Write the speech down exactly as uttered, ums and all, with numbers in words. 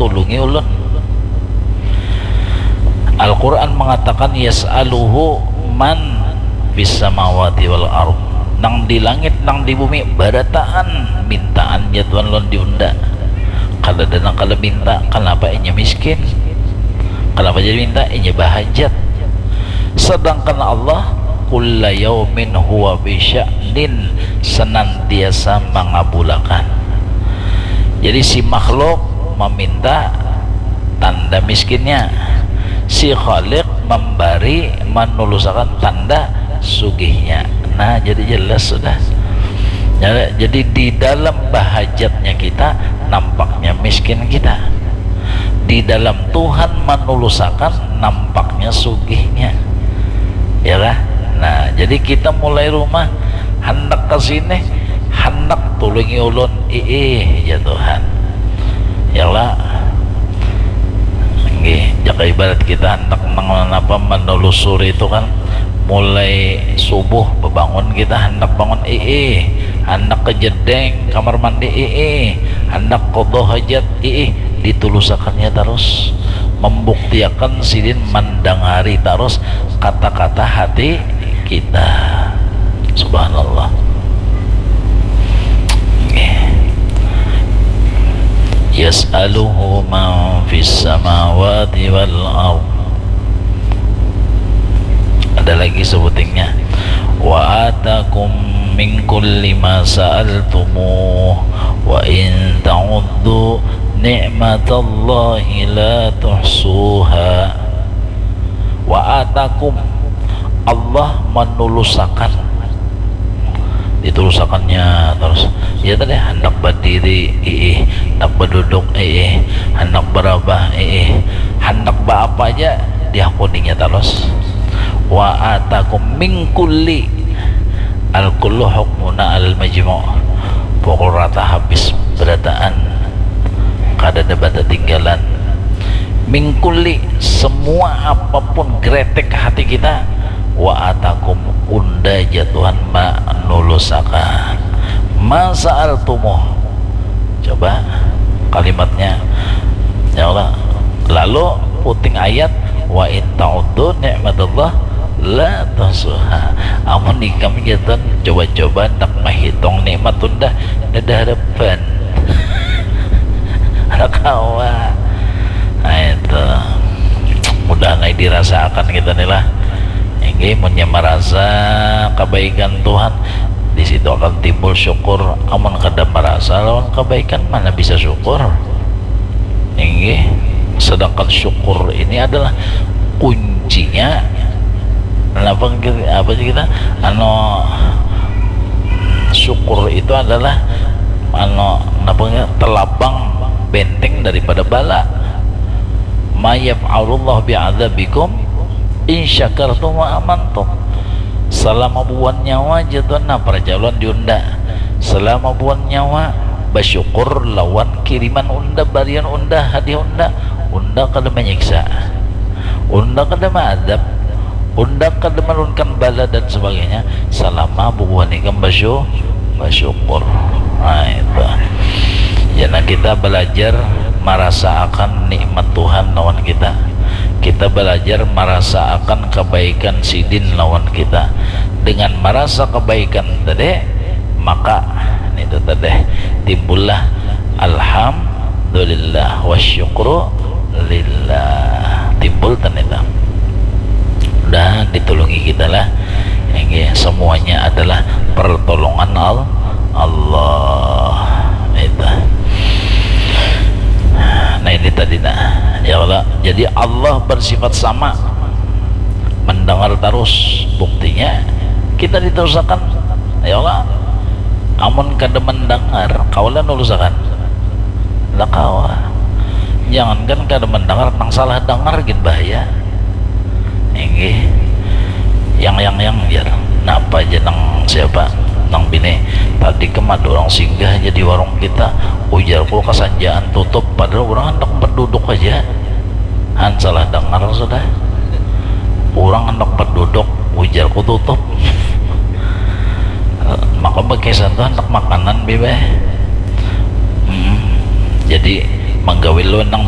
Tulungi ulun. Al-Quran mengatakan, "Yas'aluhu man fis samawati wal ard." Nang di langit, nang di bumi, barataan mintaan jadwal lawan diunda. Kada ada nang kada minta, kenapa inya miskin? Kenapa jadi minta? Inya bahajat. Sedangkan Allah, "Kulla yaumin huwa fi sya'nin," senantiasa mangabulakan. Jadi si makhluk meminta, tanda miskinnya. Si Khalik memberi, menulusakan, tanda sugihnya. Nah, jadi jelas sudah. Ya, jadi di dalam bahajatnya kita, nampaknya miskin kita. Di dalam Tuhan menulusakan, nampaknya sugihnya. Ya lah. Nah, jadi kita mulai rumah, handak ke sini, handak tulungi ulun, iih, ya Tuhan. Ya lah. Nggih, jaka ibarat kita handak mengenapa menelusuri itu kan, mulai subuh bebangun kita handak bangun, iih, handak ke jedeng kamar mandi, iih, handak qadha hajat, iih, ditulusakannya terus, membuktiakan sidin mendengari terus kata-kata hati kita. Subhanallah. Nggih. "Yas'aluhu man fis samawati wal ard." Ada lagi sebutingnya. "Wa atakum min kulli ma sa'altumuh, wa in ta'uddu ni'matallahi la tuhsuha." Wa atakum, Allah menulusakan. Ditulusakannya terus. Ya tadi, handak berdiri, iih, handak berduduk, iih, handak berabah, iih, handak beapa aja diakuninya terus. Wa atakum min kulli. Al kullu hukmuna al majmu'. Pukul rata habis berataan. Kada ada batatinggalan. Min kulli, semua apapun gretek hati kita. Wa atakum, unda ja Tuhan manulusakan. Ma sa'altumuh. Coba kalimatnya. Ya Allah. Lalu puting ayat, "Wa in ta'uddu ni'matallah la tuhsuha." Amun ikam jatan coba-coba handak mahitung nikmat tunda, nada harapan. Ada kawa. Nah, itu. Mudahan ai dirasaakan kita ni lah. Inggih, munnya marasa kabaikan Tuhan, di situ akan timbul syukur. Amun kada marasa lawan kabaikan, mana bisa syukur? Inggih, sedangkan syukur ini adalah kuncinya. Kenapa kita, apa sih kita, anu, syukur itu adalah, anu, kenapa kita, telabang benteng daripada bala. "Ma yaf'alullahu bi'adzabikum in syakartum wa amantum." Selama buan nyawa, jatuh, nah, perjalanan diunda. Selama buan nyawa, bersyukur lawan kiriman unda, barian unda, hadiah unda. Unda kada menyiksa, unda kada maadab, unda kada menurunkan bala dan sebagainya, selama bubuhan ikam basyu-, bersyukur. Nah, itu. Jana kita belajar merasaakan nikmat Tuhan lawan kita. Kita belajar merasaakan kebaikan sidin lawan kita. Dengan merasa kebaikan tadi, maka itu tadi timbullah alhamdulillah wa syukru lillah. Timbul tadi itu. Dah ditulungi kita lah. Ini semuanya adalah pertolongan Al-, Allah. Itu. Nah, ini tadi, nah. Ya Allah. Jadi Allah bersifat sama. Mendengar terus. Buktinya kita ditusakan. Ya Allah. Amun kada mendengar, kawa lah nulusakan. Lah kawa. Jangankan kada mendengar, nang salah dengar gin bahaya. Inggih. Yang, yang, yang, jar. Napa aja nang siapa? Nang bini. Tadi kam ada orang singgah aja di warung kita. Ujarku kasanjaan tutup, padahal orang handak berduduk aja. Han salah dengar sudah. Orang handak berduduk, ujarku tutup. Maka bakisah tu handak makanan, bibeh. Hmm. Jadi, manggawi lu nang